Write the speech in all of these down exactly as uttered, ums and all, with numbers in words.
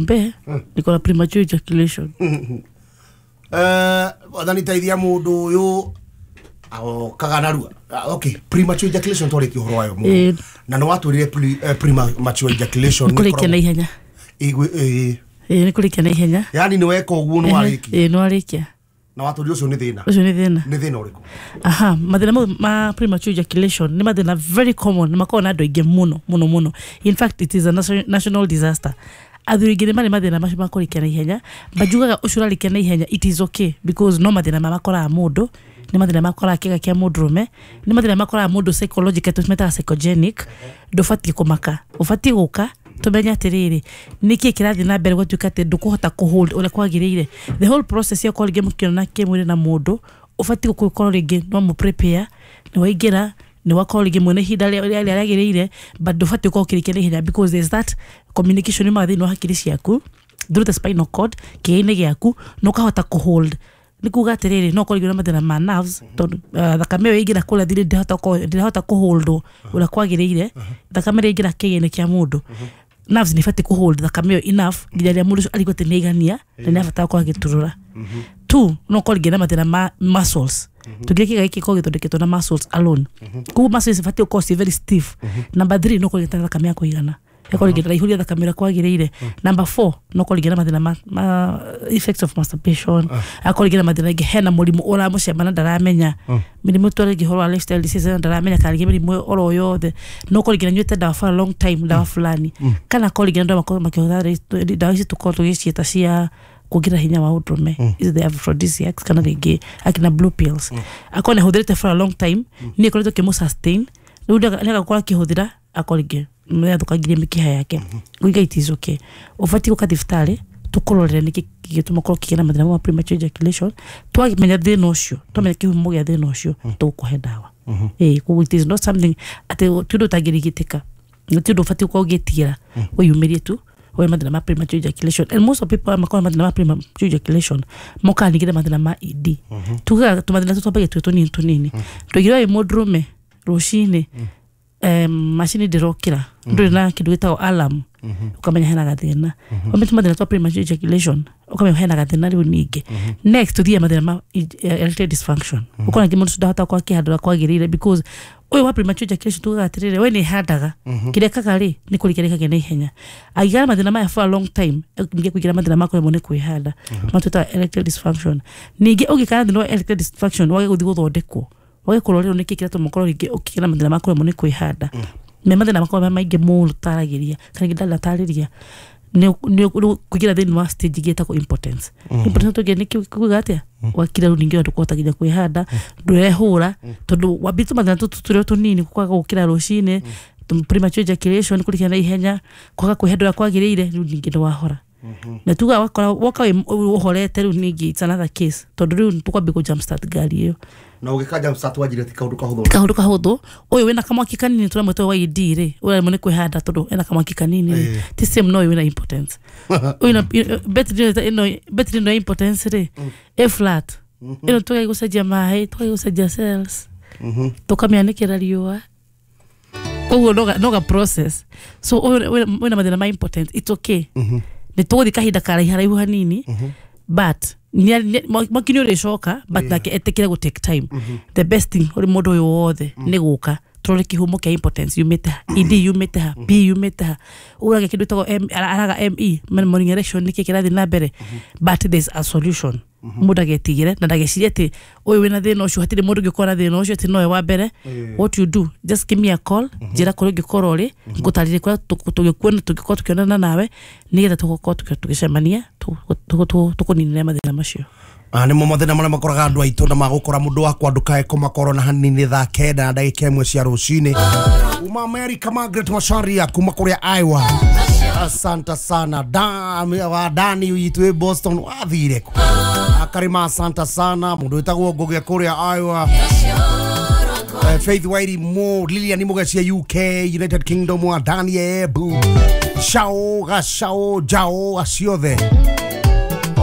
Mbe niko na premature ejaculation. Eh, wathani teithia mundu uyu aokaga narua. Okay, premature ejaculation twaritie uhoro wayo muno na no watwirire premature ejaculation ni kurikia na ihenya. Ĩ ĩ ni kurikia na ihenya, yani ni weka uguo no warikia. Ĩ no warikia na watwirire ucio ni thina. Ucio ni thina. Ni thina uriku? Aha, mathina ma premature ejaculation ni mathina very common, makoragwo na andu aingi muno muno muno. In fact it is a national disaster. Athuri aingĩ nĩ marĩ mathĩna macio ma kũrĩkia na ihenya, banjugaga ũcio ũrarĩkia na ihenya it is okay because no mathĩna makoraga mũndũ, nĩ mathĩna makoraga kĩga kĩa mũndũrũme, nĩ mathĩna makoraga mũndũ psychological, tũmetaga psychogenic. Ndũbatiĩ kũmaka, ũbatiĩ gũka tũmenye atĩrĩrĩ nĩkĩ kĩrathiĩ na mbere gwatuĩka atĩ ndũkũhota kũhold ũrĩa kwagĩrĩire. The whole process ya gũkorwo rĩngĩ mũkĩonana kĩmwĩrĩ na mũndũ, ũbatiĩ gũkorwo rĩngĩ no mũ prepare, nĩ waingĩra ni wakorwo rĩngĩ mwene ihinda rĩrĩa rĩagĩrĩire, but ndũbatiĩ gũkorwo ũkĩrĩkia na ihenya because there's that communication yumaga thĩinĩ wa hakiri ciaku through the spinal cord kĩĩga-inĩ gĩaku na ũkahota kũhold. Nĩ kuga atĩrĩrĩ no ũkorwo rĩngĩ na mathĩna ma nerves tondũ thakame ĩyo ĩingĩra kũrĩa thiri ndĩrahota kũholdwo ũrĩa kwagĩrĩire. Thakame ĩrĩa ĩingĩra kĩĩga-inĩ kĩa mũndũ, nerves nĩ ibatiĩ kũhold thakame ĩyo enough nginya rĩrĩa mũndũ ũcio arigwo atĩ nĩ aigania na nĩ abatara gũkorwo agĩturũra. Two, no ũkorwo rĩngĩ na mathĩna ma muscles. Tugire kĩga gĩkĩ gĩkoragwo gĩthondeketwo na muscles alone, koguo muscles ibatiĩ gũkorwo ci very stiff. Number three, no ũkorwo rĩngĩ na thakame ya kũigana, ĩkorwo rĩngĩ ndĩraihũria thakame ũrĩa kwagĩrĩire. Number four, no ũkorwo rĩngĩ na mathĩna ma, ma effects of masturbation, akorwo rĩngĩ na mathĩna rĩngĩ hena mũrimũ ũramũcema na ndaramenya, mĩrimũ twarĩngĩ ũhoro wa lifestyle disease na ndaramenya, kana rĩngĩ mĩrimũ oro yothe. No ũkorwo rĩngĩ nanyuĩte ndawa for a long time, ndawa fulani, kana akorwo rĩngĩ andũ makorwo makĩhũthĩra ndawa ici tũkorwo tũgĩciĩta cia kuongerera hinya wa ũndũrũme, is the aphrodisiacs kana rĩngĩ akina blue pills, akorwo nĩ ahũthĩrĩte for a long time, nĩ ĩkoretwo ĩkĩmũ sustain rĩu nĩ agakorwo akĩhũthĩra akorwo rĩngĩ nĩ athũkangirie mĩkiha yake. Kuiga it is okay, ũbatiĩ gũka thibitarĩ tũkũrorere nĩkĩ gĩgĩtũma ũkorwo ũkĩgĩa na mathĩna ma premature ejaculation. Twamenya thĩna ũcio, twamenya kĩhumo gĩa thĩna ũcio, tũgũkũhe ndawa. Ĩ koguo it is not something atĩ ti ũndũ ũtangĩrigitĩka, na ti ũndũ ũbatiĩ gũkorwo ũgĩtigĩra, wĩyumĩrie tu we mathĩna ma premature ejaculation. And most of people makoragwo mathĩna ma premature ejaculation mokaga ningĩ na mathĩna ma E D. Tugaga tũmathĩna tũtũ twambagia twĩ tũnini tũnini. Tũigire wĩ mũndũrũme rũcinĩ, macini ndĩrokĩra, ndũrĩ na kĩndũ gĩtagwo alarm, ũkamenya hena gathĩna. Wamenya tũmathĩna twa premature ejaculation, ũkamenya hena gathĩna rĩu ningĩ. Next tũthiĩ mathĩna ma erectile dysfunction. Ũkona ningĩ mũndũ ũcio ndahota gũkorwo akĩhanda ũrĩa kwagĩrĩire because ũyũ wa premature ejaculation tugaga atĩrĩrĩ we nĩ ĩhandaga, kĩrĩa ĩkaga rĩ nĩ kũrĩkia rĩkagia na ihenya. Angĩgĩa na mathĩna maya for a long time, ningĩ kũingĩra mathĩna ma kũremwo nĩ kwĩhanda, matwĩtaga erectile dysfunction. Ningĩ ũngĩkara thĩna wa erectile dysfunction wage gũthiĩ gũthondekwo, wage kũrorerwo nĩkĩ kĩratũma ũkorwo rĩngĩ ũkĩgĩa na mathĩna ma kũremwo nĩ kwĩhanda, me mathĩna makoragwo me maingĩ mũno taragĩria kana rĩngĩ ndanatarĩria, nĩ kũingĩra thĩinĩ wa stage ĩngĩ ĩtagwo impotence. Impotence tũngĩ nĩ kuga atĩa wakira rĩu ningĩ ndũkũhota nginya kwĩhanda, ndũrehũra tondũ wambĩtie tũmathĩna tũtũ tũrĩa tũnini, kwaga gũkĩra rũcinĩ, premature ejaculation, kũrĩkia na ihenya, kwaga kwĩhanda ũrĩa kwagĩrĩire, rĩu ningĩ nĩ wahora. Na tuga wakora woka ũhorete rĩu ningĩ it's another case tondũ rĩu tũkwambia kũ jump start ngari ĩyo. Na ũgĩka jump start wanjire ti kaũndũ kahũthũ. Kaũndũ kahũthũ. Ũyũ wĩna kamwaki kanini tũramwĩta wa E D rĩ, ũraremwo nĩ kwĩhanda tondũ ena kamwaki kanini rĩ, ti same no ũyũ wĩna impotence. Ũyũ betri ĩno betri ĩno ya impotence rĩ, ĩ flat. Ĩno tũgaĩ gũcenjia maĩ, tũgaĩ gũcenjia cells, tũkamĩanĩkĩra riũa. Koguo no ga process. So ũyũ wĩna mathĩna ma impotence, it's okay. Nĩ tũgũthiĩ kahinda karaiharaihu hanini, but mwaki nĩ ũrĩcoka, but nake etĩkĩre gũ take time. The best thing ũrĩ mũndũ ũyũ wothe nĩ gũka tũrore kĩhumo kĩa impotence yumĩte ha, E D yumĩte ha, P yumĩte ha, ũrage kĩndũ gĩtagwo araga M E, morning erection nĩkĩ kĩrathiĩ na mbere, but there's a solution. Mũndũ agetigĩre na ndagecirie atĩ ũyũ wĩna thĩna ũcio hatirĩ mũndũ ũngĩkorwo na thĩna ũcio atĩ nowe wa mbere. What you do, just give me a call, njĩra kũrĩa ũngĩkorwo ũrĩ, ngũtarĩrie kũrĩa tũgĩkuona tũngĩkorwo tũkĩonana nawe nĩgetha tũgũkorwo tũgĩcemania tũkũninĩre mathĩna macio. Nĩ mo mathĩna marĩa makoraga andũ aitũ na magũkora mũndũ wakwa ndũkae kũmakorwo na hanini thaa kenda na ndagĩka ĩmwe cia rũcinĩ. Kuma America, Margaret Macharia kuma kũrĩa Iowa, asante sana. Da Dani witũ Boston wathire kũ akarima, asante sana. Mũndũ wĩtagwo Ngũgĩ kũrĩa Iowa, Faith Wairi Mo, Lilian Mugacia U K, United Kingdom wa Dani Ebu, Shao Gashao Jao aciothe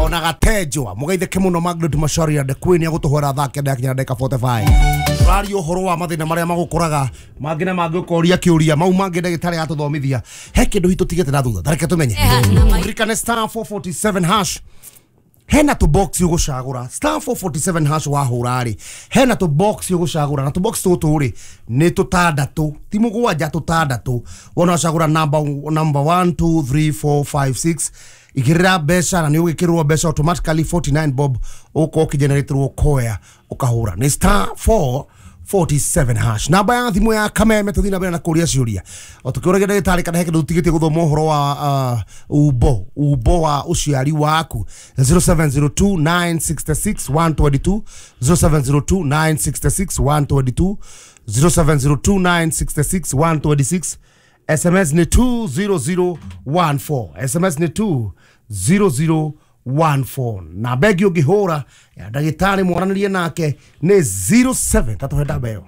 Ona gatenjwa mugeitheke muno Margaret Macharia the queen ya gutuhwera thaa kenda yakinya ndagika mĩrongo ĩna na ithano. Tũraria ũhoro wa mathĩna marĩa magũkoraga mangĩ na mangĩ, ũkoria kĩũria mau mangĩ ndagĩtarĩ atũthomithia. He kĩndũ hitũ tigĩte na thutha, tareke tũmenye. Ririkane star four forty-seven hash, hena tũ box ũgũcagũra. Star four forty-seven hash wahũra rĩ, hena tũ box ũgũcagũra, na tũ box tũtũ rĩ nĩ tũtandatũ, ti mũgwanja, tũtandatũ. Wona wacagũra number number one, two, three, four, five, six, igĩrĩra mbeca na nĩ ũgĩkĩrwo mbeca automatically forty-nine bob, ũkorwo ũkĩgeneratĩrwo koya ũkahũra nĩ star four forty-seven hash. Namba ya thimũ ya Kameme, tũthiĩ na mbere na kũria ciũria o tũkĩũragia ndagĩtarĩ kana he kĩndũ tũtigĩtie gũthoma ũhoro wa uh, umbo umbo wa ũciari waku. zero seven zero two nine six six one two two, zero seven zero two nine six six one two two, zero seven zero two nine six six one two six. S M S nĩ two zero zero one four, S M S nĩ two zero zero one four. Na bengi ũngĩhũra ya ndagĩtarĩ mwaranĩrie nake nĩ zero seven tatũhe namba ĩyo.